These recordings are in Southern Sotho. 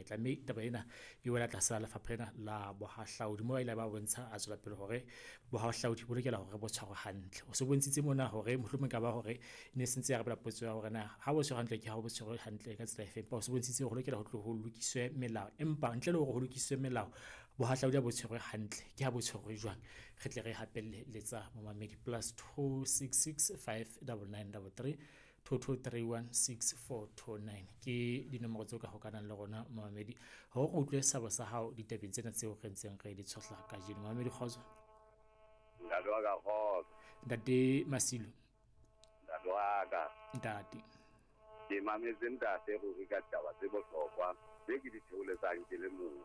monyetla. Mme taba ena e wela tlasa lefapha lena la bohahlaudi, moo a ile ba bontsha a tswela pele hore bohahlaudi bo lokela hore bo tshwarwe hantle. O se bontshitse mona hore mohlomong ka ba hore ne se ntse ya arabela potso ya hore na ha bo tshwerwe hantle ke ha bo tshwerwe hantle ka tsela efe, empa o se bontshitse hore ho lokela ho tlo ho lokiswe melao, empa ntle le hore ho lokiswe melao, bohahlaudi ha bo tshwerwe hantle ke ha bo tshwerwe jwang? Re tle re hapelle letsa momamedi +266 599 33 2231 6429 ke dinomoro tseo ka hokanang le rona momamedi hore re utlwe sabo sa hao ditabeng tsena tseo re ntseng re di tshohla kajeno. Momamedi, kgotso. Ntate wa ka, kgotso. Ntate Masilo. Ntate wa ka. Ntate. Ke mametse ntate ruri ka ditaba tse bohlokwa tse ke di theoletsang ke le mong.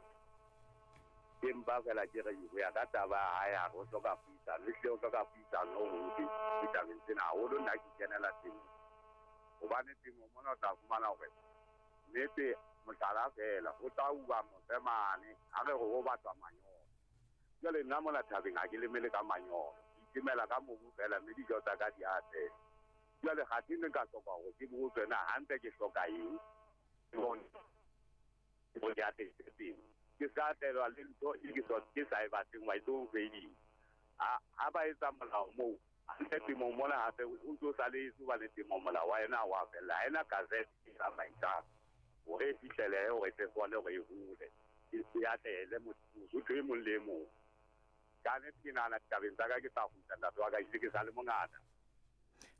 Ke mpa fela ke re ho ya ka taba ya hae, a re o hloka puisano, ehlile o hloka puisano ho ditabeng tsena haholo. Nna ke kenela temo, hobane temo mona o tla fumana hore nnete, mohlala feela, ho tla uwa mose mane, ha re re ho batlwa manyolo. Jwale nna mona thabeng ha ke lemele ka manyolo, ke itemela ka mobu feela, mme dijo tsa ka di atleha. Jwale kgathe ne nka hloka hore ke botse na hantle ke hloka eng hore ke atlehise temo, ke ska tlelwa le ntho e ke ke sa e batleng wa e tlo fedisa. Ha ba etsa molao moo hantle temong mona, hape o ntso saletse, hobane temo molao wa yona ha wa fella, ha ena gazette e tsamaisang hore e fihlelehe, hore e tle kgone hore e hole, e atlehele motho e mong le e mong. Ka nnete ke nahana ditabeng tsa ka ke tla kgutla, ntate wa ka, ebile ke sa le mongata.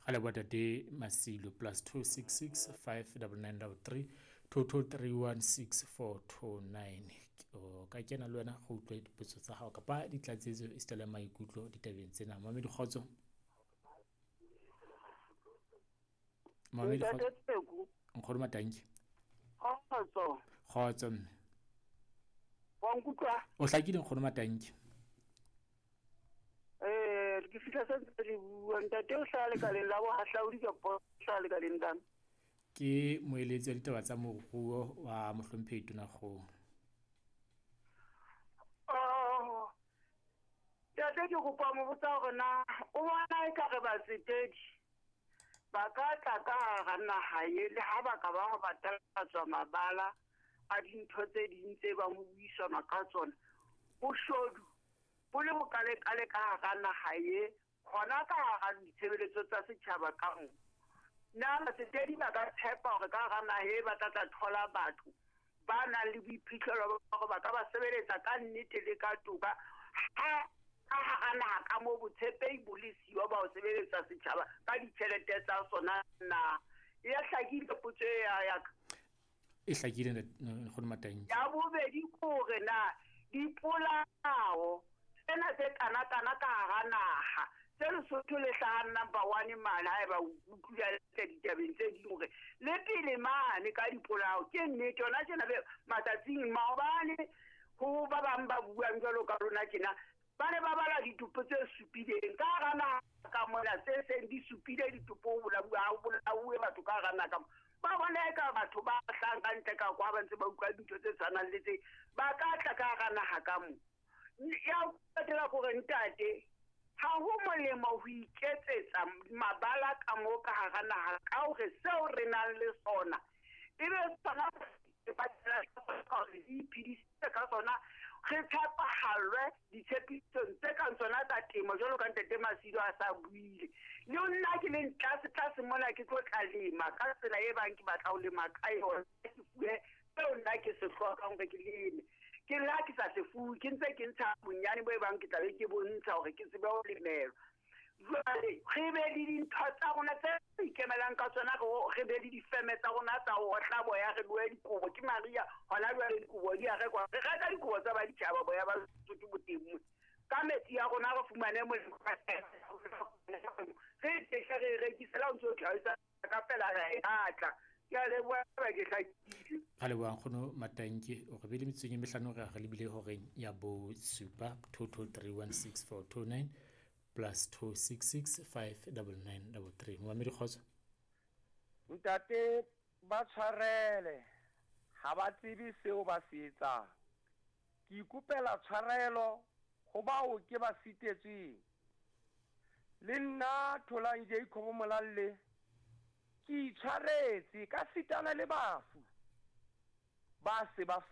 Ga leboha tate Masilo. +266 599 33 2231 6429, o ka kena le wena go utlwe dipotso tsa gago kapa ditlatsetso esita le maikutlo ditabeng tsena. Mamedi, kgotso. Mamedi, Ntate kgotso. Tseko. Nkgono Matanki. Kgotso. Kgotso mme. Wa nkutlwa? O hlakile, nkgono Matanki. Ke fihla se ntse le bua. Ntate o hlaha lekaleng la bohahlaudi kapa o hlaha lekaleng lang? Ke moeletsi wa ditaba tsa moruo wa mohlomphehi Tonakgolo. Oh, ntate, ke kopa mo botsa hore na o bona ekare batsetedi ba ka tla ka hara naha e le ha ba ka ba ba talatswa mabala a dintho tse ding tse bang ho buisanwa ka tsona, boshodu bo le bokalekale ka hara naha e, hona ka hara ditshebeletso tsa setjhaba ka mo. Na batsetedi ba ka tshepa hore ka hara naha e ba tla tla thola batho ba nang le boiphihlelo ba hore ba ka ba sebeletsa ka nnete le ka toka, ha ka hara naha ka moo botshepehi bo le siyo ba ho sebeletsa setjhaba ka ditjhelete tsa sona na? E ya hlakile potso e ya ka? E hlakile, nkgono Matanki. Ya bobedi ke hore na dipolao tsena tse kana-kana ka hara naha tse Lesotho le hlahang number 1 mane, haeba o utlwile hantle ditabeng tse ding hore le pele mane ka dipolao, ke nnete yona tjena be matsatsing maobane ho ba bang ba buang jwalo ka rona tjena, ba ne ba bala ditopo tse supileng ka hara naha ka mona, tse seng di supile ditopo, ho bolauwe, ha ho bolauwe batho ka hara naha ka mona. Ba bona eka batho ba hlahang ka ntle ka kwa ba ntse ba utlwa dintho tse tshwanang le tse, ba ka tla ka hara naha ka mo. Ya ho qetela kore ntate, ha ho molemo ho iketsetsa mabala ka mo ka hara naha, ka hore seo re nang le sona ebe sona re iphedisitse ka sona, re tshepahallwe ditshepisong tse kang tsona tsa temo jwalo ka ntate Masilo a sa buile. Le nna ke leng tlase tlase mona ke tlo tla lema ka tsela e bang ke batla ho lema ka yona, ke fuwe seo nna ke se hlokang hore ke leme. Ke la ke sa se fuwe, ke ntse ke ntsha bonyane bo e bang ke tla be ke bontsha hore ke tsebe ho lemelwa. Jwale re be le dintho tsa rona tse re ikemelang ka tsona, re be le difeme tsa rona tsa ho otla boya, re lohe dikobo. Ke mariha hona jwale dikobo di a rekwa, re reka dikobo tsa baditjhaba, boya ba Lesotho bo teng mona. Ka metsi ya rona re fumane molemo, re tehle re rekise, le ha o ntso tlhalosa ka fela ra e batla. Ke a leboha, ba ke hlakile. Ga leboha nkgono Matanki, o re bile metsotsong e mehlano re re lebile horeng ya bosupa. 22316429 +266 599 33. Momamedi, kgotso. Ntate, ba tshwarele, ha ba tsebe seo ba se etsang. Ke ikopela tshwarelo ho bao ke ba sitetsweng. Le nna Tholang Jacob Molalle ke itshwaretse ka sitana le bafu ba se ba.